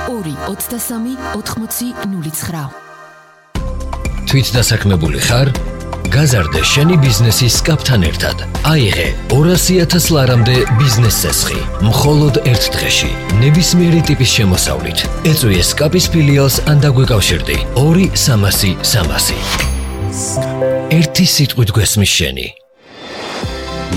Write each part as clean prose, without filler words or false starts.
223-80-09. თვით დასაქმებული ხარ? გაზარდე შენი ბიზნესის კაპთან ერთად. აიღე 200,000 ლარამდე ბიზნეს წესხი. მხოლოდ ერთ დღეში. ნებისმიერი ტიპის შემოსავლით. ეწვიე სკაპის ფილიალს ან დაგვეკავშირდი. 2-300-300. ერთი სიტყვით გვესმის შენი.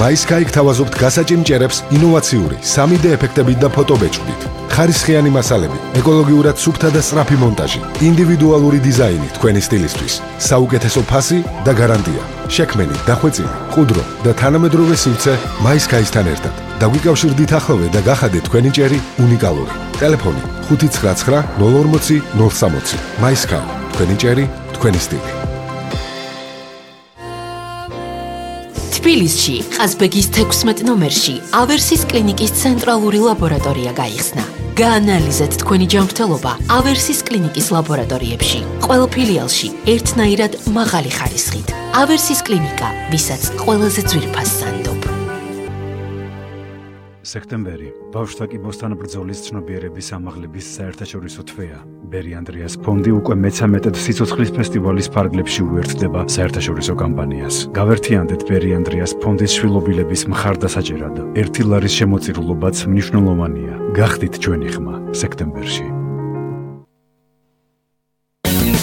MySky გთავაზობთ გასაჭიმჭერებს ინოვაციური 3D ეფექტებით და ფოტობეჭდით. ხარისხიანი მასალები, ეკოლოგიურად სუფთა და სწრაფი მონტაჟი, ინდივიდუალური დიზაინი თქვენი სტილისთვის, საუკეთესო ფასი და გარანტია. შექმენი, დახვეწილი, ყუდრო და თანამედროვე სივრცე MySky-სთან ერთად. დაგვიკავშირდით ახლოვე და გახადეთ თქვენი ჭერი უნიკალური. ტელეფონი 599 040 060. MySky, თქვენი ჭერი, თქვენი სტილი. თბილისში, ყაზბეგის 16 ნომერში, ავერსის კლინიკის ცენტრალური ლაბორატორია გაიხსნა. გაანალიზეთ თქვენი ჯანმრთელობა ავერსის კლინიკის ლაბორატორიებში. ყველა ფილიალში ერთნაირად მაღალი ხარისხით. ავერსის კლინიკა, ვისაც ყველაზე ძვირფას სანდობ. სექტემბერი, ბავშვთა კიბოსთან ბრძოლის ცნობიერების ამაღლების საერთაშორისო თვეა. ბერი ანდრიას ფონდი უკვე მე-13 სიცოცხლის ფესტივალის ფარგლებში უერთდება საერთაშორისო კამპანიას. გავერთიანდეთ ბერი ანდრიას ფონდის შვილობილების მხარდასაჭერად. 1 ლარის შემოწირულობაც მნიშვნელოვანია. გახდით ჩვენი ხმა სექტემბერში.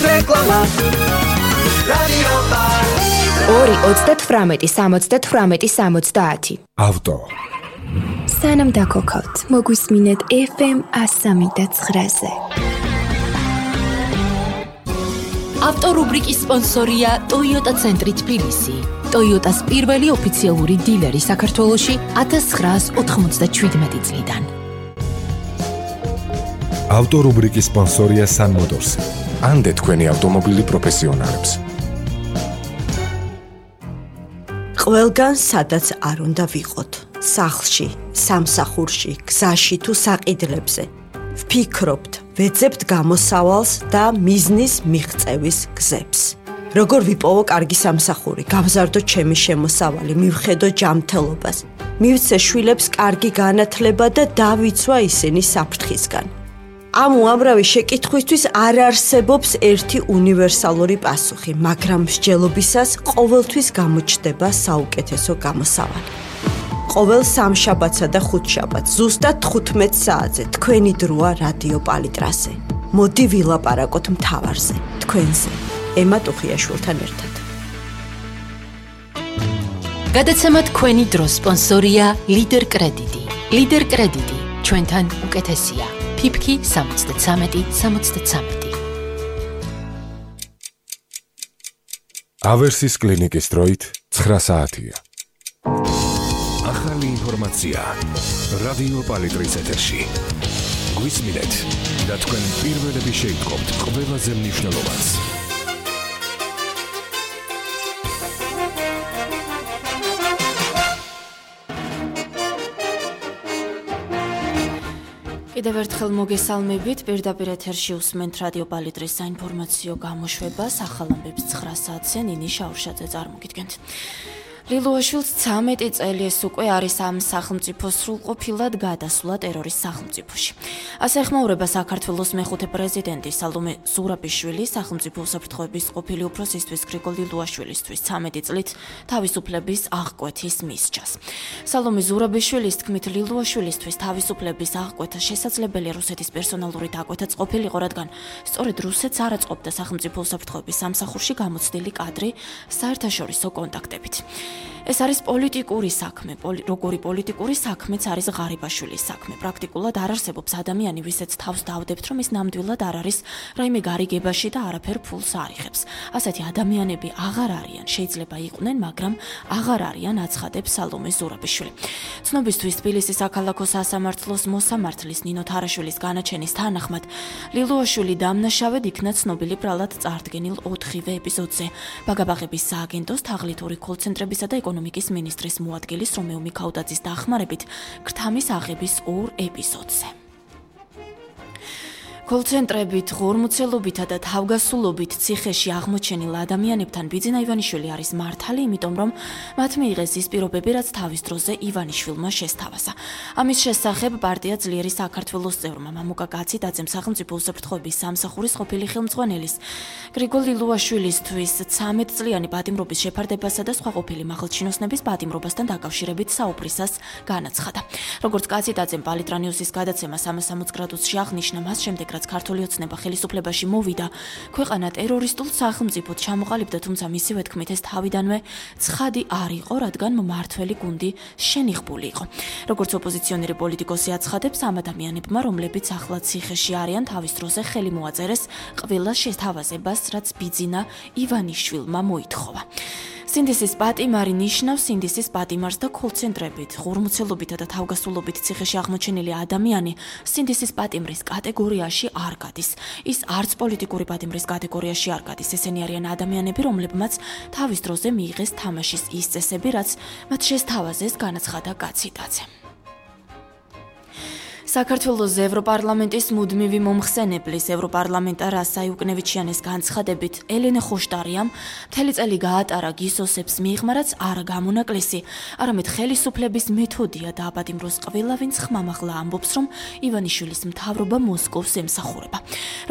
რეკლამა. რადიო პალ 2-38-70-70. ავტო. სანამ დაქოქავთ, მოგვისმინეთ FM 103.9-ზე. ავტორუბრიკის სპონსორია Toyota ცენტრი თბილისი. Toyota-s პირველი ოფიციალური დილერი საქართველოში 1997 წლიდან. ავტორუბრიკის სპონსორია Sun Motors. ანდე თქვენი ავტომობილი პროფესიონალებს. ყველგან სადაც არ უნდა ვიყოთ. სახლში, სამსახურში, გზაში თუ საყიდლებზე. ვფიქრობთ, ვეძებთ გამოსავალს და მიზნის მიღწევის გზებს. როგორ ვიპოვო კარგი სამსახური, გავზარდო ჩემი შემოსავალი, მივხედო ჯანმრთელობას, მივცე შვილებს კარგი განათლება და დავიცვა ისინი საფრთხისგან. ამ უამრავი შეკითხვისთვის არ არსებობს ერთი უნივერსალური პასუხი, მაგრამ მსჯელობისას ყოველთვის გამოჩნდება საუკეთესო გამოსავალი. ყოველ სამშაბათსა და ხუთშაბათს ზუსტად 15 საათზე თქვენი დროა რადიო პალიტრასზე. მოდი ვილაპარაკოთ მთავარზე, თქვენზე, ემა ტუხიაშვილთან ერთად. გადაცემა თქვენი დროს სპონსორია ლიდერ კრედიტი. ლიდერ კრედიტი, ჩვენთან უკეთესია. ფიფქი 73-73. ავერსის კლინიკის დროით 9 საათია. ახალი ინფორმაცია რადიო პალიტრის ეთერში. გვისმინეთ და თქვენ პირველები შეიტყობთ ყველაზე მნიშვნელოვანს. კიდევ ერთხელ მოგესალმებით, პირდაპირ ეთერში უსმენთ რადიო პალიტრის საინფორმაციო გამოშვებას, ახალ ამბებს 9 საათზე ნინი შაურშაძე წარმოგიდგენთ. ლილუაშვილს 13 წელი ეს უკვე არის ამ სახელმწიფოს სრულყოფილად გადასვლა ტერორის სახელმწიფოში. ასე ეხმაურება საქართველოს მეხუთე პრეზიდენტი სალომე ზურაბიშვილი სახელმწიფო უსაფრთხოების ყოფილი უფროსისთვის გრიგოლ ლილუაშვილისთვის 13 წლით თავისუფლების აღკვეთის მისჯას. სალომე ზურაბიშვილის თქმით, ლილუაშვილისთვის თავისუფლების აღკვეთა შესაძლებელია რუსეთის პერსონალური დაკვეთაც ყოფილიყო, რადგან სწორედ რუსეთს არ აწყობდა სახელმწიფო უსაფრთხოების სამსახურში გამოცდილი კადრი საერთაშორისო კონტაქტებით. ეს არის პოლიტიკური საქმე, როგორი პოლიტიკური საქმეც არის ღარიბაშვილის საქმე. პრაქტიკულად არ არსებობს ადამიანი, ვისაც თავს დავდებთ, რომ ის ნამდვილად არ არის რაიმე გარიგებაში და არაფერ ფულს არ იღებს. ასეთი ადამიანები აღარ არიან, შეიძლება იყვნენ, მაგრამ აღარ არიან, აცხადებს სალომე ზურაბიშვილი. ცნობისთვის თბილისის საქალაქო სასამართლოს მოსამართლის ნინო თარაშვილის განაჩენის თანახმად, ლილუაშვილი დამნაშავედ იქნა ცნობილი ბრალად წარდგენილ 4-ვე ეპიზოდზე. ბაგაბაღების სააგენტოს თაღლითური კოლცენტრებისა და ეკონომიკის მინისტრის მოადგილის რომეო მიქაუტაძის დახმარებით, ქრთამის აღების 2 ეპიზოდზე. კოლცენტრებით, ღორმუცელობითა და თავგასულობით ციხეში აღმოჩენილ ადამიანებთან ბიძინა ივანიშვილი არის მართალი, იმიტომ რომ მათ მიიღეს ის პირობები, რაც თავის დროზე ივანიშვილმა შესთავაზა. ამის შესახებ პარტია ძლიერი საქართველოს წევრმა მამუკა კაციტაძემ სახელმწიფო უსაფრთხოების სამსახურის ყოფილი ხელმძღვანელის გრიგოლ ლილუაშვილისთვის 13 წლიანი პატიმრობის შეფარდებასა და სხვა ყოფილი მაღალჩინოსნების პატიმრობასთან დაკავშირებით საუბრისას განაცხადა. როგორც კაციტაძემ პალიტრანიუსის გადაცემა 360 გრადუსში აღნიშნა, მას შემდეგ რაც ქართული ოცნება ხელისუფლებაში მოვიდა, ქვეყანა ტერორისტულ სახელმწიფოდ ჩამოყალიბდა, თუმცა მისივე თქმით ეს თავიდანვე ცხადი არ იყო, რადგან მმართველი გუნდი შენიღბული იყო. როგორც ოპოზიციონერი პოლიტიკოსი აცხადებს, ამ ადამიანებმა, რომლებიც ახლა ციხეში არიან, თავის დროზე ხელი მოაწერეს ყველა შეთავაზებას, რაც ბიძინა ივანიშვილმა მოითხოვა. სინდისის პატიმარი ნიშნავს სინდისის პატიმარს და კოლცენტრებით, ღორმუცელობითა და თავგასულობით ციხეში აღმოჩენილი ადამიანი სინდისის პატიმრის კატეგორიაში არ გადის. ის არც პოლიტიკური პატიმრის კატეგორიაში არ გადის. ესენი არიან ადამიანები, რომლებმაც თავის დროზე მიიღეს თამაშის ის წესები, რაც მათ შესთავაზეს, განაცხადა კაციტაძე. საქართველოს ევროპარლამენტის მუდმივი მომხსენებლის ევროპარლამენტარ რასა იუკნევიჩიანის განცხადებით ელენე ხოშტარიამ მთელი წელი გაატარა გისოსებს მიღმა, რაც არ გამონაკლისი, არამედ ხელისუფლების მეთოდია და აპატიმროს ყველა ვინც ხმამაღლა ამბობს, რომ ივანიშვილის მთავრობა მოსკოვს ემსახურება.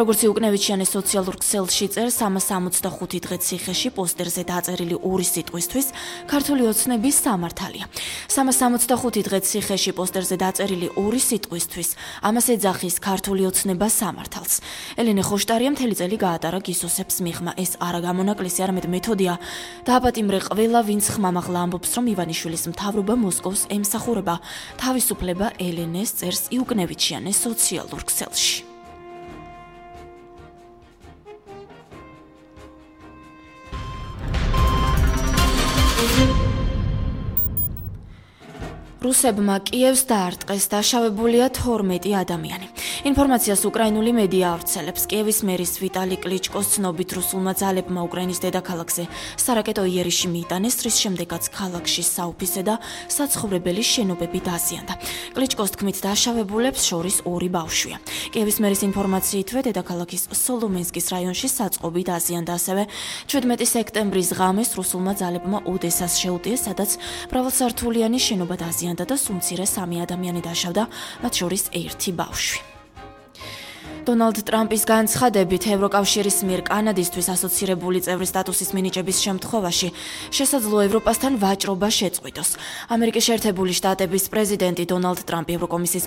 როგორც იუკნევიჩიანის სოციალურ ქსელში წერს, 365 დღე ციხეში პოსტერზე დაწერილი ორი სიტყვისთვის ქართული ოცნების სამართალია. 365 დღე ციხეში პოსტერზე დაწერილი ორი სიტყვის ამას ეძახის ქართული ოცნება სამართალს. ელენე ხოშტარია მთელი წელი გაატარა გისოსებს მიღმა. ეს არა გამონაკლისი, არამედ მეთოდია. დააპატიმრე ყველა ვინც ხმამაღლა ამბობს, რომ ივანიშვილის მთავრობა მოსკოვს ემსახურება. თავისუფლება ელენეს წერს იუკნევიჩიანის სოციალურ ქსელში. რუსებმა კიევს დაარტყეს, დაშავებულია 12 ადამიანი. ინფორმაციას უკრაინული მედია ავრცელებს. კიევის მერის ვიტალი კლიჩკოს ცნობით რუსულმა ძალებმა უკრაინის დედაქალაქზე სარაკეტო იერიში მიიტანეს, რის შემდეგაც ქალაქში საოფისე და საცხოვრებელი შენობები დაზიანდა. კლიჩკოს თქმით, დაშავებულებს შორის 2 ბავშვია. კიევის მერის ინფორმაციითვე დედაქალაქის სოლომენსკის რაიონში საწყობი დაზიანდა. ასევე 17 სექტემბრის ღამეს რუსულმა ძალებმა ოდესას შეუტიეს, სადაც მრავალსართულიანი შენობა დაზიანდა და სუმცირე 3 ადამიანი დაშავდა, მათ შორის 1 ბავშვი. დონალდ ტრამპის განცხადებით, ევროკავშირის მიერ კანადისთვის ასოცირებული წევრის სტატუსის მინიჭების შემთხვევაში შესაძლოა ევროპასთან ვაჭრობა შეწყვიტოს. ამერიკის შეერთებული შტატების პრეზიდენტი დონალდ ტრამპი ევროკომისიის